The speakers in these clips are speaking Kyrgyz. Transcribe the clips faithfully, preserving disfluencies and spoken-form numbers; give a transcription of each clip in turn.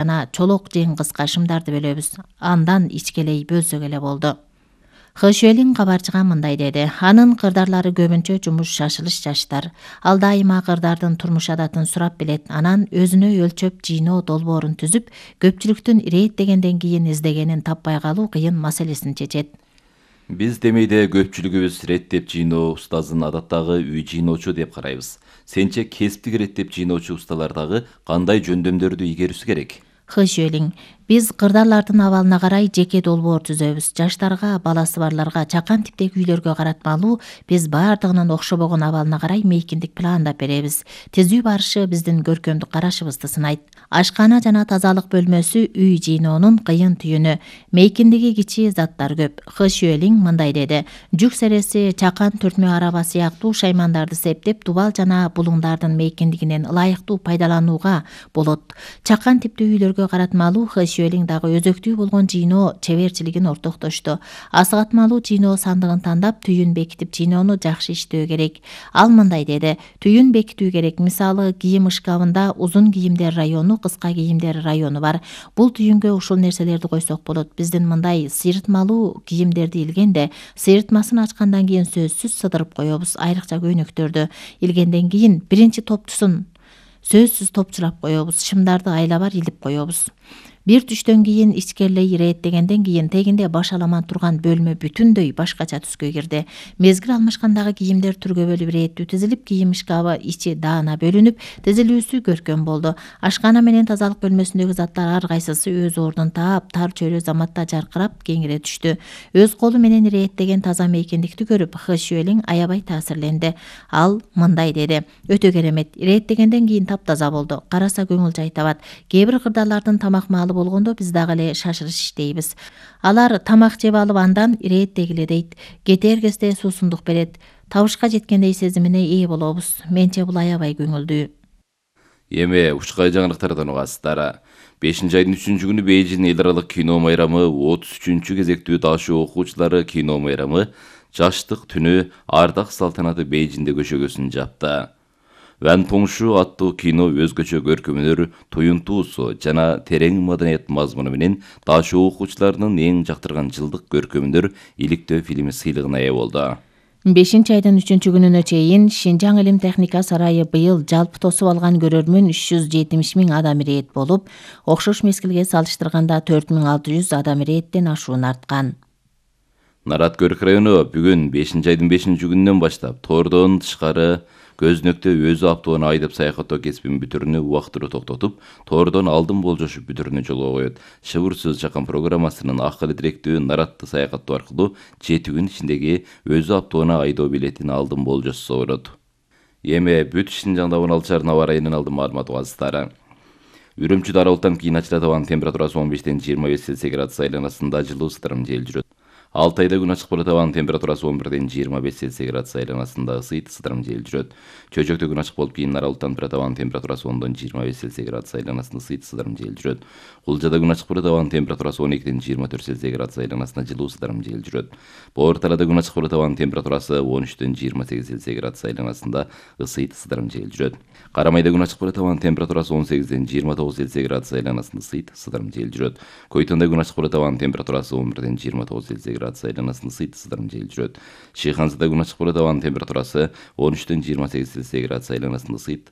жана чолок жең кыска шымдарды бөлөбүз. Андан ичкелей бөлсөк эле болду. Хышуэлин кабарчыга мындай деди. Анын кырдарлары көбүнчө жумуш шашылыш жаштар. Ал дайыма кырдардын турмуш адатын сурап билет. Анан өзүнө өлчөп жыйноо долбоорун түзүп, көпчүлүктүн ирээттегенден кийин издегенин таппай калуу кыйын маселесин чечет. Биз демейде көпчүлүгүбүз реттеп жыйноо устазын адаттагы үй жыйноочу деп карайбыз. Сенче кесиптик реттеп жыйноочу усталар дагы кандай жөндөмдөрдү игерүүсү керек? Хышуэлин, биз кырдарлардын абалына карай жеке долбоор түзөбүз. Жаштарга, баласы барларга, чакан типтеги үйлөргө каратмалуу биз баардыгынын окшобогон абалына карай мейкиндик пландап беребиз. Түзүү барышы биздин көркөмдүк карашыбызды сынайт. Ашкана жана тазалык бөлмөсү үй жыйноонун кыйын түйүнү. Мейкиндиги кичи заттар көп. Хышуэлин мындай деди. Жүк сереси, чакан түртмө араба сыяктуу шаймандарды септеп, дубал жана булуңдардын мейкиндигинен ылайыктуу пайдаланууга болот. Чакан типтүү үйлөргө каратмалуу Хышуэлин дагы өзөктүү болгон жыйноо чеберчилигин ортоктошту. Асыгатмалуу жыйноо сандыгын тандап, түйүн бекитип жыйноону жакшы иштөө керек. Ал мындай деди. Түйүн бекитүү керек. Мисалы, кийим шкафында узун кийимдер району, кыска кийимдер району бар. Бул түйүнгө ушул нерселерди койсок болот. Биздин мындай сыйрытмалуу кийимдерди илгенде, сыйрытмасын ачкандан кийин сөзсүз сыдырып коебуз. Айрыкча көйнөктөрдү илгенден кийин биринчи топтусун сөзсүз топчурап коебуз. Шымдарды айлабар илип коебуз. Бир түштөн кийин ичкерилей ирээттегенден кийин тегинде баш аламан турган бөлмө бүтүндөй башкача түскө кирди. Мезгил алмашкандагы кийимдер түргө бөлүп ирээттүү тизилип, кийим шкафы ичи даана бөлүнүп, тизилүүсү көркөм болду. Ашкана менен тазалык бөлмөсүндөгү заттар ар кайсысы өз ордун таап, тар чөйрө заматта жаркырап кеңире түштү. Өз колу менен ирээттеген таза мейкиндикти көрүп, Хышуэлин аябай таасирленди. Ал мындай деди. Өтө керемет. Ирээттегенден кийин таптаза болду. Караса көңүл жай табат. Кээ бир кырдарлардын тамак маалы болгондо биз дагы эле шашырыш иштейбиз. Алар тамак жеп алып андан ирээттегиле дейт. Кетер кезде суусундук берет. Табышка жеткендей сезимине ээ болобуз. Менче бул аябай көңүлдүү. Эми ушкай жаңылыктардан угасыздар. бешинчи айдын үчүнчү күнү Бейжин эл аралык кино майрамы отуз үчүнчү кезектүү дашуу окуучулары кино майрамы Жаштык түнү ардак салтанаты Бейжинде көчөгөсүн жапты. Ван Тоңшу аттуу кино өзгөчө көркөмдөр, туюнтуусу жана терең маданият мазмуну менен дашуу окуучуларынын эң жактырган жылдык көркөмдөр иликтөө фильми сыйлыгына ээ болду. бешинчи айдын үчүнчү күнүнө чейин Шинжаң илим техника сарайы быйыл жалпы тосуп алган көрөрмөн үч жүз жетимиш миң адам ирээт болуп, окшош мезгилге салыштырганда төрт миң алты жүз адам ирээттен ашуун арткан. Нараткөрк району бүгүн бешинчи айдын бешинчи күнүнөн баштап тордон тышкары көзүнөктө өзү автоуна айдап саякаттоо кесибин бүтүрүүнү убактылуу токтотуп, тордон алдын болжошуп бүтүрүүнү жолго коет. Шыбыр сөз чакан программасынын акылы тиректүү наратты саякаттоо аркылуу жети күн ичиндеги өзү автоуна айдоо билетин алдын болжосо болот. Эми бүт Шинжаңда он алты шаарынын аба ырайынын алдын маалымат угасыздар. Үрүмчүдө аралыктан кийин ачылат абанын температурасы он бештен жыйырма беш Цельсий градус айланасында жылуу ысытырым жел жүрөт. Алтайда күн ачык болот, абанын температурасы он бирден жыйырма беш Цельсий градус айланасында ысыйт, ысытырым жел жүрөт. Чөйчөктө күн ачык болуп, кийин аралыктан турат, абанын температурасы ондон жыйырма беш Цельсий градус айланасында ысыйт, ысытырым жел жүрөт. Кулжада күн ачык болот, абанын температурасы он экиден жыйырма төрт Цельсий градус айланасында жылуу, ысытырым жел жүрөт. Боор Талаада күн ачык болот, абанын температурасы он үчтөн жыйырма сегиз Цельсий градус айланасында ысыйт, ысытырым жел жүрөт. Карамайда күн ачык болот, абанын температурасы он сегизден жыйырма тогуз Цельсий градус айланасында ысыйт, ысытырым жел жүрөт. Койтонда күн ачык болот, абанын температурасы он бирден жыйырма тогуз Цельсий градус айланасында ысыйт, ысытырым жел жүрөт. Шыйханзада күн ачык болот, абанын температурасы он үчтөн жыйырма сегиз Цельсий градус айланасында ысыйт,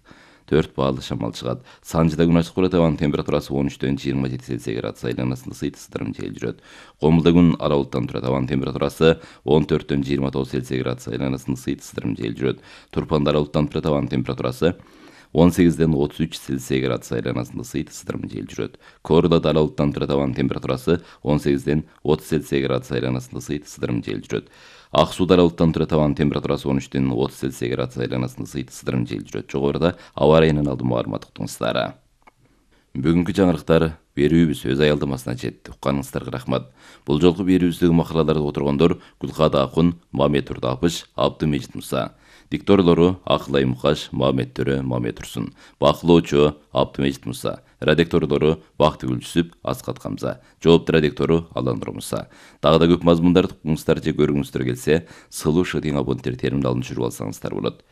төрт баллы шамал чыгат. Санжыда күн ачык болот, абанын температурасы он үчтөн жыйырма жети Цельсий градус айланасында ысыйт, ысытырым жел жүрөт. Комулда күн ара булуттан турат, абанын температурасы он төрттөн жыйырма тогуз Цельсий градус айланасында ысыйт, ысытырым жел жүрөт. Турпанда ара булуттан турат, абанын температурасы он сегизден отуз үч Цельсий градус айланасында ысыйт, ысытырым жел жүрөт. Коордада ара булуттан турат, абанын температурасы он сегизден отуз Цельсий градус айланасында ысыйт, ысытырым жел жүрөт. Ак сууда ара булуттан турат, абанын температурасы он үчтөн отуз Цельсий градус айланасында ысыйт, ысытырым жел жүрөт. Жогоруда аба ырайынын алдын маалымат уктуңуздар. Бүгүнкү жаңырыктар берүүбүз өз аялдамасына жетти. Укканыңыздарга рахмат. Бул жолку берүүбүздөгү макалаларды отургондор Гүлкада Акун, Мамет Турдапыш, Абдымежит Муса. Дикторлору Акылай Мукаш, Мамет Төрө, Мамет Турсун. Бакылоочу Абдымежит Муса. Редакторлору Бактыгүл Жүсүп, Аскат Камза. Жоопту редактору Аландыр Муса. Дагы да көп мазмундарды укуңуздар же көргүңүздөр келсе, сылуу шыдың абоненттер теримди алып жүрүп алсаңыздар болот.